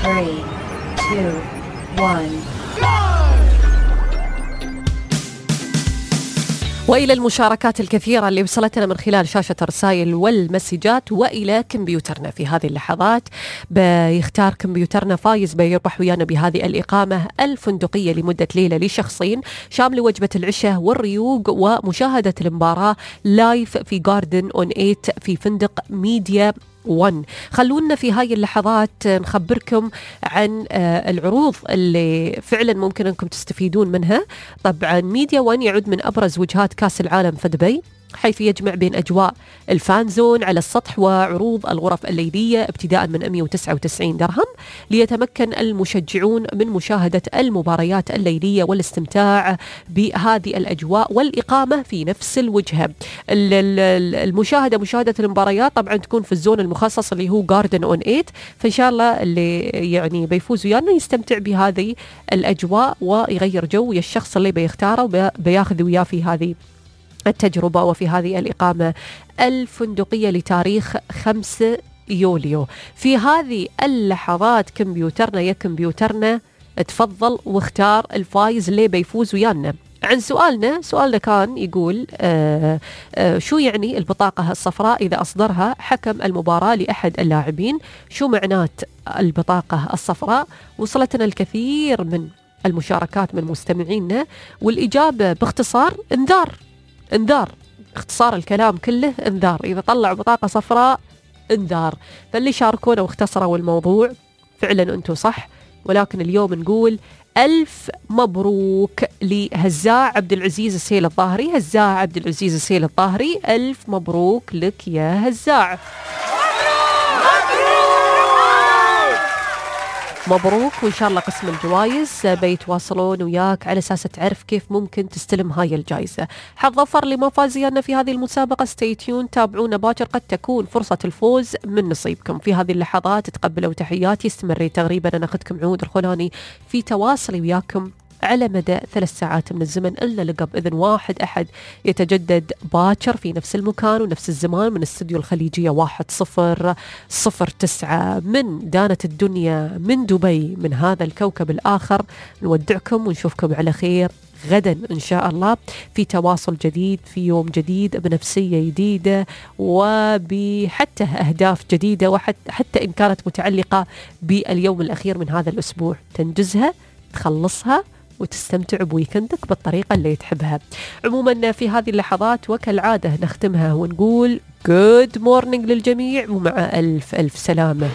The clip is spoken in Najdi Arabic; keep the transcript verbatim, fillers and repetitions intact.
three, two, one. وإلى المشاركات الكثيرة اللي وصلتنا من خلال شاشة الرسائل والمسجات وإلى كمبيوترنا في هذه اللحظات. بيختار كمبيوترنا فايز بيربح ويانا بهذه الإقامة الفندقية لمدة ليلة لشخصين شامل وجبة العشاء والريوق ومشاهدة المباراة لايف في جاردن أون إيت في فندق ميديا ون. خلونا في هاي اللحظات نخبركم عن العروض اللي فعلا ممكن أنكم تستفيدون منها. طبعا ميديا ون يعد من أبرز وجهات كاس العالم في دبي، حيث يجمع بين أجواء الفانزون على السطح وعروض الغرف الليلية ابتداء من مئة وتسعة وتسعين درهم، ليتمكن المشجعون من مشاهدة المباريات الليلية والاستمتاع بهذه الأجواء والإقامة في نفس الوجهة. المشاهدة مشاهدة المباريات طبعا تكون في الزون المخصص اللي هو جاردن أون إيت، فإن شاء الله اللي يعني بيفوز ويانا يستمتع بهذه الأجواء ويغير جو ويا الشخص اللي بيختاره بياخذ وياه في هذه التجربة وفي هذه الإقامة الفندقية لتاريخ خمسة يوليو. في هذه اللحظات كمبيوترنا يا كمبيوترنا تفضل واختار الفايز اللي بيفوز ويانا. عن سؤالنا سؤالنا كان يقول آه آه شو يعني البطاقة الصفراء إذا أصدرها حكم المباراة لأحد اللاعبين؟ شو معنات البطاقة الصفراء؟ وصلتنا الكثير من المشاركات من مستمعينا، والإجابة باختصار انذار. انذار، اختصار الكلام كله انذار. إذا طلع بطاقة صفراء انذار. فاللي شاركونا واختصروا الموضوع فعلا أنتوا صح، ولكن اليوم نقول ألف مبروك لهزاع عبد العزيز السيل الظاهري. هزاع عبد العزيز السيل الظاهري، ألف مبروك لك يا هزاع. مبروك، وإن شاء الله قسم الجوائز بيتواصلون وياك على أساس تعرف كيف ممكن تستلم هاي الجائزة. حظ ظفر لما فازينا في هذه المسابقة. ستي تيون، تابعونا باكر، قد تكون فرصة الفوز من نصيبكم. في هذه اللحظات تقبلوا تحياتي، استمري تقريبا أنا أخذكم عود الخلاني في تواصلي وياكم على مدى ثلاث ساعات من الزمن، إلا لقى بإذن واحد أحد يتجدد باكر في نفس المكان ونفس الزمان من استوديو الخليجية واحد صفر صفر تسعة من دانة الدنيا من دبي من هذا الكوكب الآخر. نودعكم ونشوفكم على خير غدا إن شاء الله في تواصل جديد في يوم جديد بنفسية جديدة وبحتى أهداف جديدة، وحتى حتى إن كانت متعلقة باليوم الأخير من هذا الأسبوع تنجزها تخلصها وتستمتع بويكندك بالطريقة اللي تحبها. عموما في هذه اللحظات وكالعادة نختمها ونقول good morning للجميع ومع ألف ألف سلامة.